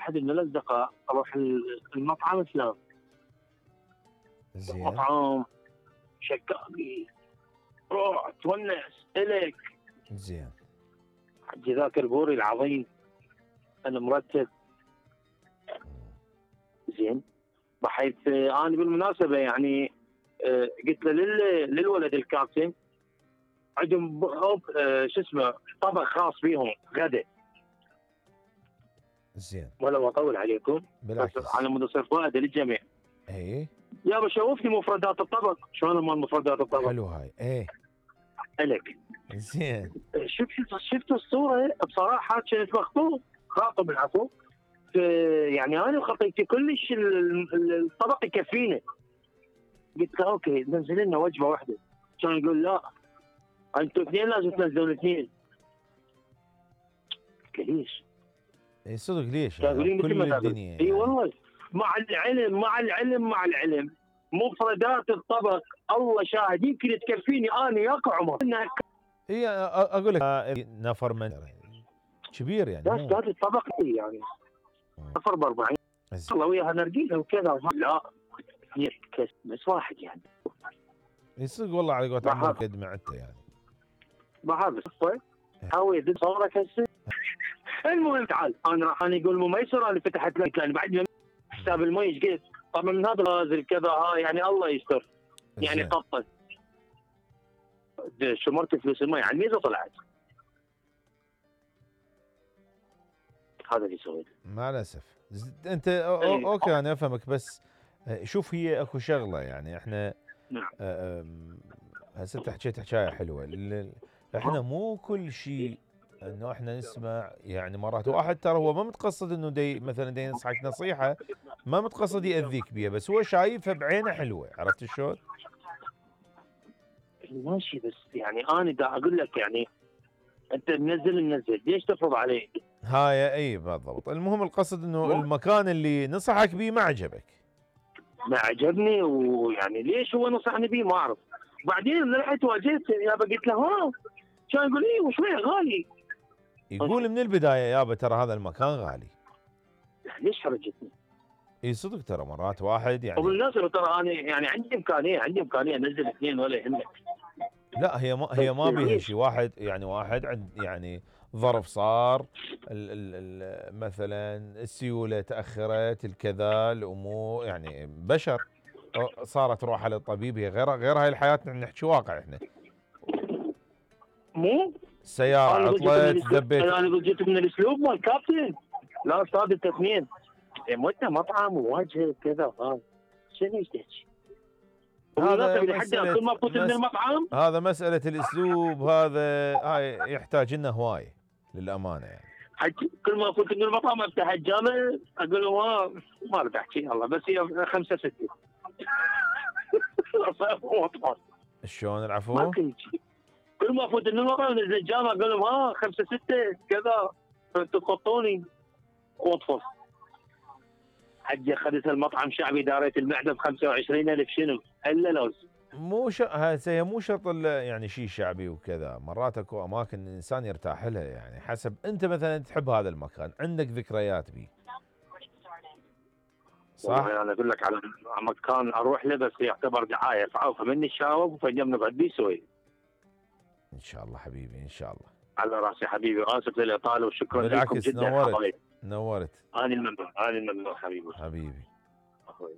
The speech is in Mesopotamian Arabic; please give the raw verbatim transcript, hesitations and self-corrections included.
احد من الاصدقاء اروح المطعم فلان، زين. مطعم شكاكي، روح تونس الك. زين. حجي ذاك البوري العظيم انا مرتب. زين. بحيث انا بالمناسبه يعني قلت له للولد الكابتن عندهم شو اسمه طبق خاص بيهم غدا. زين. ولا اطول عليكم بالعكس على مود يصير فائده للجميع. اي يابا شوفني مفردات الطبق شلون مال مفردات الطبق. حلو هاي. ايه الك. زين. شفت شفت الصوره بصراحه كانت مخطوط خاطب العفو. يعني انا خطيتي كلش الطبق يكفينا. قلت له اوكي نزل لنا وجبه واحده. كان يقول لا انتوا اثنين لازم تنزلون اثنين. ليش؟ اي صدق ليش؟ كل الدنيا اي والله. مع العلم مع العلم مع العلم مفردات الطبق الله شاهد يمكن تكفيني انا وياك وعمر. اي اقول لك نفر من كبير يعني. بس هذا الطبق يعني نفر ب أربعين الله وياها نرجيله وكذا. لا بس واحد يعني. يصدق والله على قولت عمرك قد معدته يعني. بحب الصفه حاول صورك هسه. المهم تعال انا راح انا يقول ميسر انا فتحت لك لان بعد حساب المي ايش قلت طبعا من هذا نازل كذا ها يعني الله يستر يعني قطت شمرت فلوس المي على الميزه طلعت. هذا اللي سويته مع الاسف. انت أو اوكي انا افهمك بس شوف هي اكو شغله يعني احنا نعم هسه انت حكيت حكايه حلوه. احنا مو كل شيء انه احنا نسمع يعني مرات واحد ترى هو ما متقصد انه دي مثلا دي ينصحك نصيحه ما متقصد ياذيك بيها بس هو شايفها بعينه حلوه. عرفت شلون؟ ماشي بس يعني انا دا اقول لك يعني انت منزل منزل ليش تفرض علي؟ هاي اي بالضبط. المهم القصد انه المكان اللي نصحك بيه ما عجبك. ما عجبني ويعني ليش هو نصحني بيه ما اعرف. بعدين من رحت واجهت يابا قلت له ها كان يقول لي وشويه غالي. يقول من البدايه يابا ترى هذا المكان غالي. ليش حرجتني؟ اي صدق ترى مرات واحد يعني وبالمناسبه ترى انا يعني عندي امكانيه عندي امكانيه انزل اثنين ولا يهمك. لا هي ما هي ما بيها شيء. واحد يعني واحد عند يعني ظرف صار ال ال ال مثلا السيوله تاخرت الكذا الامور يعني بشر صارت روحها للطبيب. هي غير غير هاي الحياه نحكي واقع احنا. مو السياره عطلت ذبيت. انا جيت من الاسلوب مال كابتن. لا استاذ انت اثنين مت مطعم وواجهه كذا ها شنو ايش تحكي؟ هذا مسألة كل ما فوت من المطعم هذا مساله الاسلوب. هذا هاي يحتاج لنا هوايه للامانه يعني. حكي كل ما فوت من المطعم افتح الجامع اقول له ما ما بدي احكي يلا بس هي خمسه سته. شلون العفو؟ كل ما افوت من المطعم نزل الجامع اقول لهم ها خمسه سته كذا تقطوني واطفص. حجي اخذت المطعم شعبي داريت المعده ب خمسة وعشرين ألف شنو؟ الا لوز. مو ش... هسه مو شرط يعني شيء شعبي وكذا. مرات اكو اماكن الانسان يرتاح لها يعني حسب انت مثلا تحب هذا المكان عندك ذكريات به. صح؟ انا اقول لك على مكان اروح له بس يعتبر دعايه فعوفه مني الشاوب فجم نقعد بيه سوي. ان شاء الله حبيبي ان شاء الله. على راسي حبيبي اسف للاطاله وشكرا لكم جدا. نورت نورت. انا الممنون انا الممنون حبيبي حبيبي أخوي.